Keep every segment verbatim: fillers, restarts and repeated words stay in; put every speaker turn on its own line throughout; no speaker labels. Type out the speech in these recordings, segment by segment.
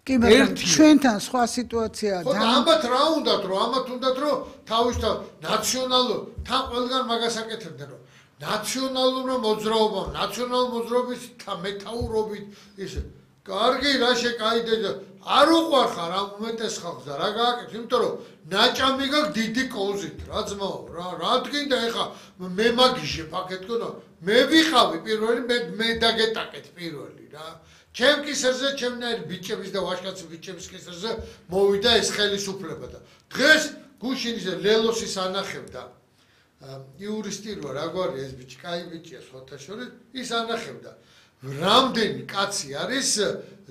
კი, მაგრამ ჩვენთან სხვა სიტუაციაა.
ხო, ამათ რა უნდათ, რომ ამათ უნდათ, რომ თავისთავად ნაციონალურ თან ყველგან მაგას აკეთებდნენ, რომ ნაციონალურმა მოძრაობამ, ნაციონალურ მოძრაობის მეთაურობით ისე კარგი რა შეკაიდე არ უყვარხარ ამ უმეტეს ხალხს და რა გააკეთე, იმიტომ რომ ნაჭამი გაქვს დიდი კოზით, რა ძმაო, რა რა თქინდა ეხა მე მაგიჟე ფაქეთქო და მე ვიყავი პირველი, მე მე დაგეტაკეთ პირველი რა. ჩემ კისერზე, ჩემნაირ ბიჭების და ვაჟკაცი ბიჭების კისერზე მოვიდა ეს ხელისუფლება და დღეს გუშინის ლელოსის ანახევდა იურისტი რო რა გვარი ეს ბიჭი, კაი ბიჭია სხვათა შორის, ის ანახევდა რამდენი კაცი არის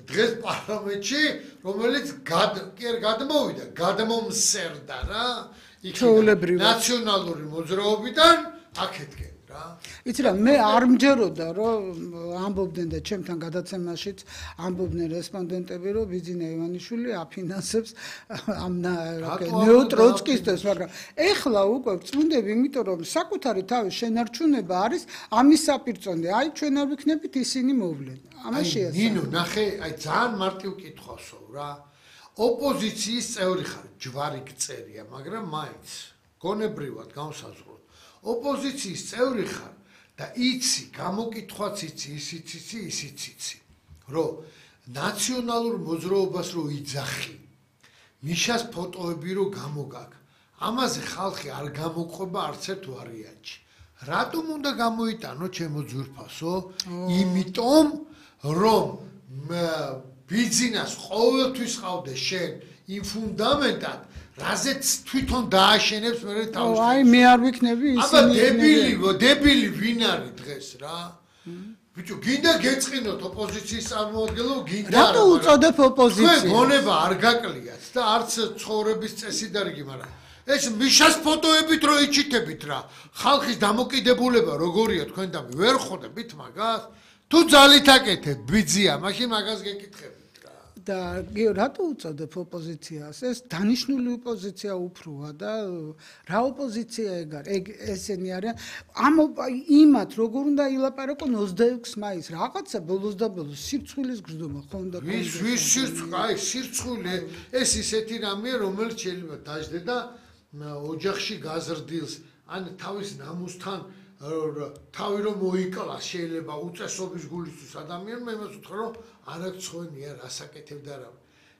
დღეს პარლამენტში, რომელიც კი არ გადმოვიდა, გადმომსერდა რა, იქ ნაციონალური მოძრაობიდან აქეთკენ რა.
იცი რა, მე არ მჯეროდა, რომ ამბობდნენ და ჩემთან გადაცემაშიც ამბობდნენ რესპონდენტები, რომ ბიძინა ივანიშვილი აფინანსებს ამ ნეოტროცკისტებს, მაგრამ ეხლა უკვე წვდები, იმიტომ რომ საკუთარი თავის შენარჩუნება არის ამის საპირწონე. აი ჩვენ არ ვიქნებით ისინი მოვლენ. ამას შეასრულე.
ნინო, ნახე, აი ძალიან მარტივ კითხვასო რა. ოპოზიციის წევრი ხარ, ჯვარი გწერია, მაგრამ მაინც გონებრივად განსაზღვროთ. ოპოზიციის წევრი ხარ და იცი, გამოკითხვაც იცი, ისიც იცი, ისიც იცი, რომ ნაციონალურ მოძრაობას რო იძახი, მიშას ფოტოები რო გამოგაგ, ამაზე ხალხი არ გამოყვება არც ერთ ვარიანტში. რატომ უნდა გამოიტანო ჩემო ძვირფასო? იმიტომ, რომ ბიძინას ყოველთვის ყავდა შენ იმ ფუნდამენტად, რაზეც თვითონ დააშენებს მე თავს.
აი მე არ ვიქნები ისინი.
აბა დებილი, დებილი ვინ არის დღეს რა? ბიჭო, გინდა გეწყინოთ ოპოზიციის წარმოადგენლო, გინდა არა.
რატო უწოდებ ოპოზიციას?
თქვენ გონება არ გაკლიათ და არც ცხოვრების წესი და რიგი, მაგრამ ეს მიშას ფოტოებით რო იჩიტებით რა. ხალხის დამოკიდებულება როგორია თქვენ და ვერ ხვდებით მაგას? თუ ძალით აკეთებ ბიძია, მაშინ მაგას გეკითხებით.
და რატო უწოდებ ოპოზიციას? ეს დანიშნული ოპოზიცია უფროა და რა ოპოზიცია ეგ არის? ეგ ესენი არიან. ამ იმათ როგორ უნდა ილაპარაკონ ოცდაექვსი მაისს, რაღაცა ბოლოს და ბოლოს სირცხვილის გრძნობა ხო უნდა
კონდეს. ვის ვის სირცხვილე? აი სირცხვილე ეს ისეთი რამეა, რომელიც შეიძლება დაждდე და ოჯახში გაზრდილს, ან თავის ნამუსთან თავი რომ მოიკლას შეიძლება უწესობის გულისთვის ადამიანმა, მე იმას ვთქვა რომ არ აქცხვენია რასაკეთებდა რა.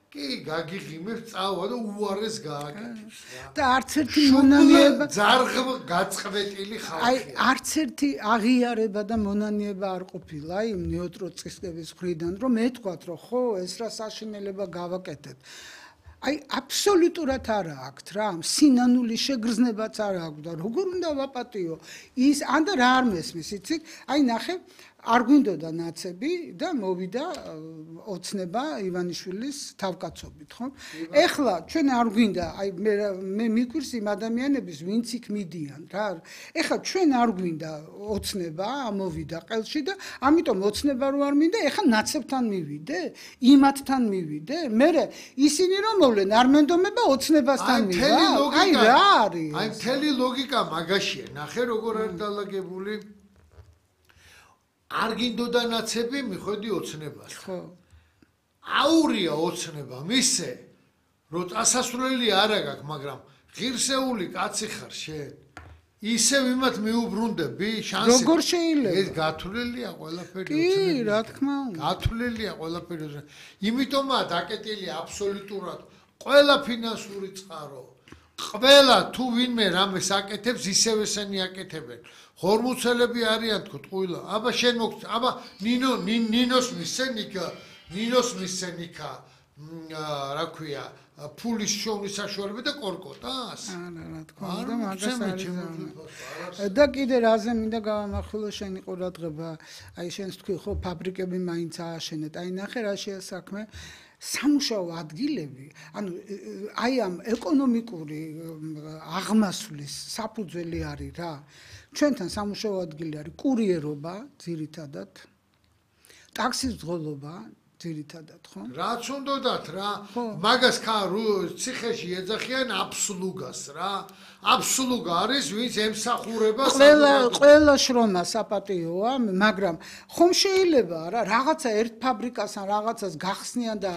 კი, გაგიღიმებ წავა და უარეს გააკეთებს რა.
და არც ერთი მონანიება
ძარღ გაწყვეტილი ხალხია.
აი არც ერთი აღიარება და მონანიება არ ყოფილა იმ ნეოტროცკისტების მხრიდან, რომ ეთქვათ, რომ ხო, ეს რა საშინელება გავაკეთეთ. აი აბსოლუტურად არა აქვთ რა, სინანული შეგრძნებაც არ აქვს და როგორ უნდა ვაპატიო ის ან და რა არ მესმის, იცით? აი ნახე, არ გვინდოდა ნაცები და მოვიდა ოცნება ივანიშვილის თავკაცობით, ხო? ეხლა ჩვენ არ გვინდა, აი მე მე მიგვირს იმ ადამიანების, ვინც იქ მიდიან რა. ეხლა ჩვენ არ გვინდა ოცნება, ამოვიდა ყელში და ამიტომ ოცნება რო არ მინდა, ეხლა ნაცებთან მივიდე, იმათთან მივიდე. მე ისინი რომ მოვლენ, არ მენდომება ოცნებასთან მივა. აი რა არის?
აი მთელი ლოგიკა მაგაშია. ნახე როგორ არის დალაგებული. არ გინდოდა ნაცები, მიხვედი ოცნებას.
ხო.
აურია ოცნება, მისე, რომ წასასვლელი არა გაქვს, მაგრამ ღირსეული კაცი ხარ შენ. ისევ იმათ მიუბრუნდები შანსი.
როგორ შეიძლება?
ეს გათვლილია ყველაფერი
ოცნების. კი, რა თქმა უნდა.
გათვლილია ყველაფერი ოცნების. იმიტომაა დაკეტილი აბსოლუტურად ყველა ფინანსური წყარო. ყველა თუ ვინმე რამეს აკეთებს, ისევ ესენი აკეთებენ. ხორმუცელები არიან თქო ტყუილა. აბა შენ მოგ აბა ნინო ნინოს მისცენიკა, ნინოს მისცენიკა, რა ქვია, ფულის შოვნის საშუალება და კორკოტას.
არა, რა თქმა უნდა, მაგას არის. და კიდე რაზე მინდა გავამახვილო შენი ყურადღება, აი შენს თქვი ხო, ფაბრიკები მაინც ააშენეთ. აი ნახე რა შეა საქმე. სამუშაო ადგილები, ანუ აი ამ ეკონომიკური აღმასვლის საფუძველი არის რა. ჩვენთან სამუშაო ადგილი არის კურიერობა, ძირითადად, ტაქსის ძღოლობა, ძირითადად, ხო?
რაც უნდათ რა, მაგას ხა ციხეში ეძახიან აბსლუგას რა. აბსლუგა არის, ვინც ემსახურება
ყველა ყველა შრომა საპატიოა, მაგრამ ხომ შეიძლება რა, რაღაცა ერთ ფაბრიკას ან რაღაცას გახსნიან და